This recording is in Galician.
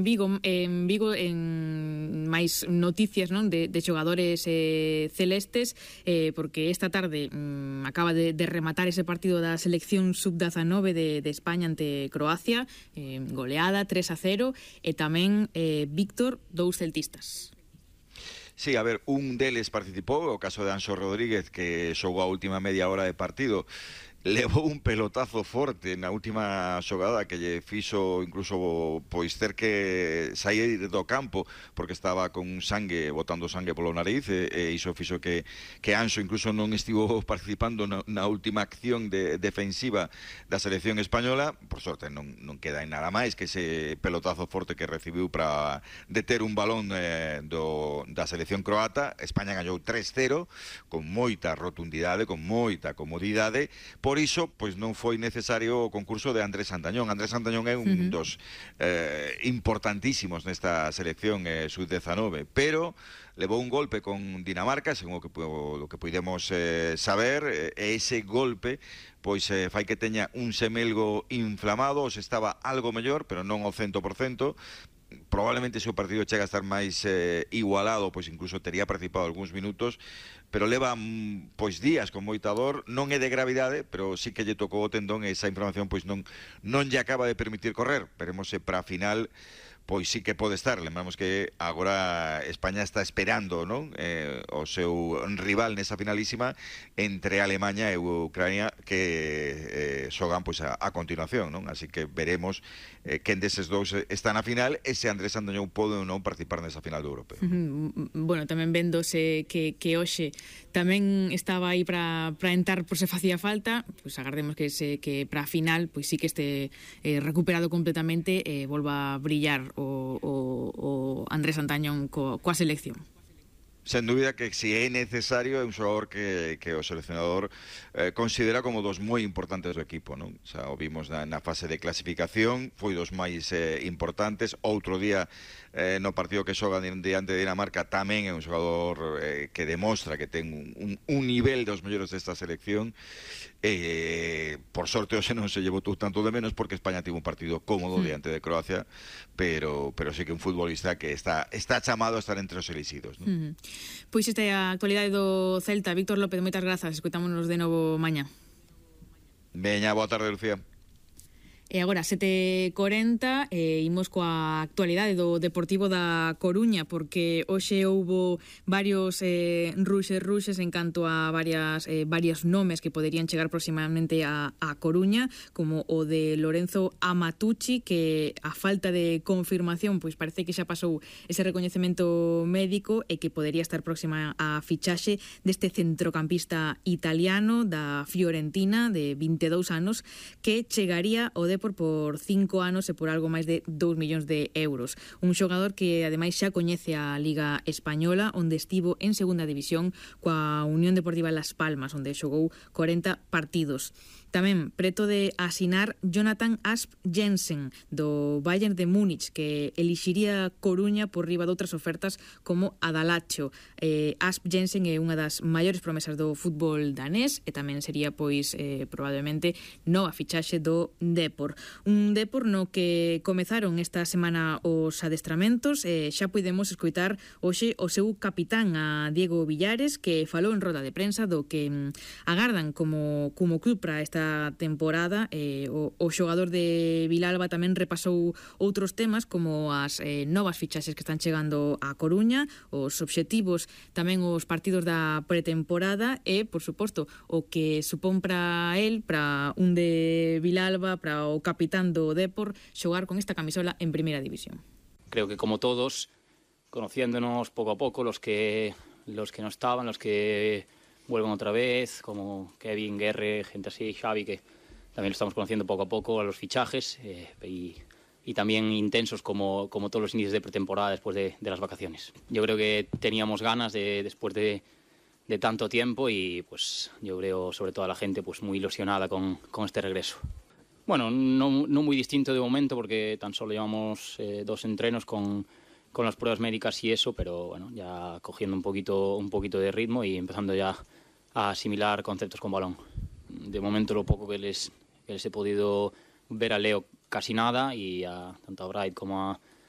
en Vigo en máis noticias, non, de xogadores celestes, porque esta tarde acaba de rematar ese partido da selección sub-19 de España ante Croacia, goleada 3-0, e tamén Víctor, 2 celtistas. Sí, a ver, un deles participou, o caso de Anxo Rodríguez, que xogou a última media hora de partido, levou un pelotazo forte na última xogada que lle fixo incluso pois ter que sair do campo porque estaba con sangue, botando sangue polo nariz, e iso fixo que Anxo incluso non estivo participando na última acción defensiva da selección española. Por sorte non queda en nada máis que ese pelotazo forte que recibiu para deter un balón da selección croata. España gañou 3-0 con moita rotundidade, con moita comodidade. Por iso, pois non foi necesario o concurso de Andrés Santañón. Andrés Santañón é un dos importantísimos nesta selección sub-19, pero levou un golpe con Dinamarca, según o que podemos saber, e ese golpe pois fai que teña un semelgo inflamado. Os estaba algo mellor, pero non ao 100%. Probablemente se o partido chega a estar máis igualado, pois incluso tería participado algúns minutos, pero leva pois días con moita dor. Non é de gravidade, pero sí que lle tocou o tendón e esa inflamación pois non lle acaba de permitir correr. Veremos se para a final pois sí que pode estar. Lembramos que agora España está esperando, non, o seu rival nesa finalísima entre Alemanha e Ucrania, que xogan pois a continuación, non? Así que veremos quen deses dous está na final e se Andrés Santañón pode ou non participar nesa final do Europeo. Bueno, tamén vendose que hoxe tamén estaba aí para entrar por se facía falta, pois agardemos que para a final pois sí que este recuperado completamente e volva a brillar o Andrés Santañón coa selección. Sen dúbida que si é necesario, é un xogador que o seleccionador considera como dos moi importantes do equipo, non? O sea, o vimos na fase de clasificación, foi dos máis importantes. Outro día no partido que xoga diante de Dinamarca tamén é un xogador que demostra que ten un nivel dos mellores desta selección. Por sorte hoxe non se lle botou tanto de menos porque España tivo un partido cómodo diante de Croacia, pero sí que un futbolista que está chamado a estar entre os elixidos, non? Pois esta é a actualidade do Celta. Víctor López, moitas grazas, escoitámonos de novo mañá. Veña, boa tarde, Lucía. E agora, 7:40, imos coa actualidade do Deportivo da Coruña, porque hoxe houbo varios ruxes en canto a varios nomes que poderían chegar próximamente a Coruña, como o de Lorenzo Amatucci, que a falta de confirmación, pois parece que xa pasou ese recoñecemento médico e que podería estar próxima a fichaxe deste centrocampista italiano da Fiorentina, de 22 anos, que chegaría ao Depor por 5 anos e por algo máis de 2 millóns de euros. Un xogador que ademais xa coñece a Liga Española, onde estivo en segunda división coa Unión Deportiva Las Palmas, onde xogou 40 partidos. Tamén preto de asinar Jonathan Asp Jensen do Bayern de Múnich, que elixiría Coruña por riba de outras ofertas como Adalacho. Asp Jensen é unha das maiores promesas do fútbol danés e tamén sería pois probablemente nova fichaxe do Depor. Un Depor no que comezaron esta semana os adestramentos e xa podemos escoitar hoxe o seu capitán, a Diego Villares, que falou en roda de prensa do que agardan como club para esta temporada. O xogador de Vilalba tamén repasou outros temas como as novas fichaxes que están chegando a Coruña, os obxectivos, tamén os partidos da pretemporada e, por suposto, o que supón para el, para un de Vilalba, para o capitán do Depor, xogar con esta camisola en Primeira División. Creo que como todos, conociéndonos poco a poco, los que no estaban, los que vuelven otra vez, como Kevin, Guerre, gente así, Xavi, que también lo estamos conociendo poco a poco, a los fichajes, y también intensos como todos los inicios de pretemporada después de las vacaciones. Yo creo que teníamos ganas después de tanto tiempo y pues yo creo sobre todo a la gente pues muy ilusionada con este regreso. Bueno, no muy distinto de momento porque tan solo llevamos 2 entrenos con las pruebas médicas y eso, pero bueno, ya cogiendo un poquito de ritmo y empezando ya a asimilar conceptos con balón. De momento lo poco que les he podido ver a Leo casi nada y tanto a Bright como a